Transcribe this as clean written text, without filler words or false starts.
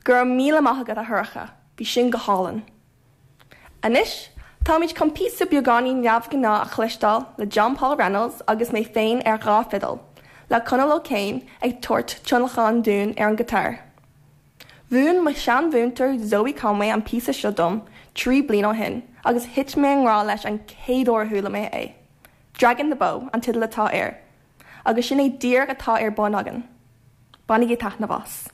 Go raibh míle maith agat a Shorcha, bhí sin go hálainn. Anois, táimid chun píosa beagáinín neamhghnáth a chloisteáil le John Paul Reynolds agus mé féin ar dha fidil, le Conall O'Kane ag tabhairt tionlacan dúinn ar an guitar. Mhúin mo sheanmhúinteoir Zoe Conway an píosa seo dom 3 bliain ó shin agus thit mé i ngrá leis an chéad uair a chuala mé é. Dragging the Bow an teideal atá air, agus sin é díreach atá ar bun againn. Bainigí taitneamh as.